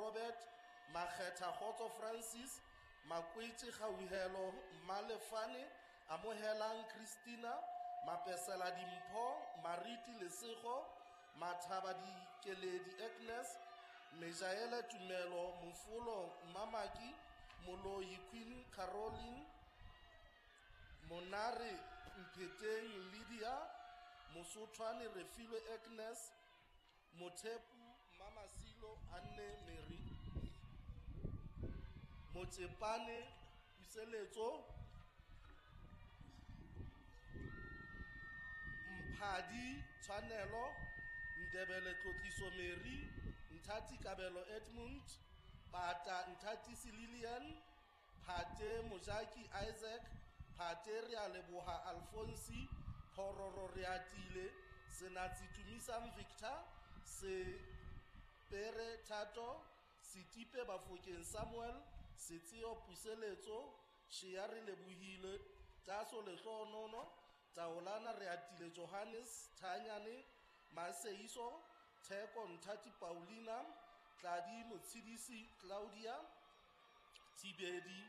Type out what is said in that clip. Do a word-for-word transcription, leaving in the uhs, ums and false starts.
Robert, Makgetha Kgotso Francis, Makwetše Kgauhelo Mmalefane, Amogelang Christina, Mapesela Dimpho, Mariti Lesego, Mathaba Dikeledi Agnes, Mejaele Tumelo Mofolo Mamaki, Moloi Queen Caroline, Monare Mpheteng Lydia, Mosothwane Refilwe Agnes, Mothepu Mamasilo Anne Mary, Motsepane Puseletso, Mphadi Tshwanelo, Ndebele Tlotliso Mary, Nthati Kabelo Edmund, Pata Nthatisi Lillian, Phate Mojaki Isaac, Phate Realeboha Alfonsi, Phororo Reatile, Senatsi Tumisang Victor, Sepere Thato, Setipe Bafokeng Samuel, Setseo Puseletso, Sheare Lebohile, Taso Lehlohonono, Taolana Reatile Johannes, Thanyane Maseiso, Theko Nthati Paulina, Tladi Motshidisi Claudia, Thibedi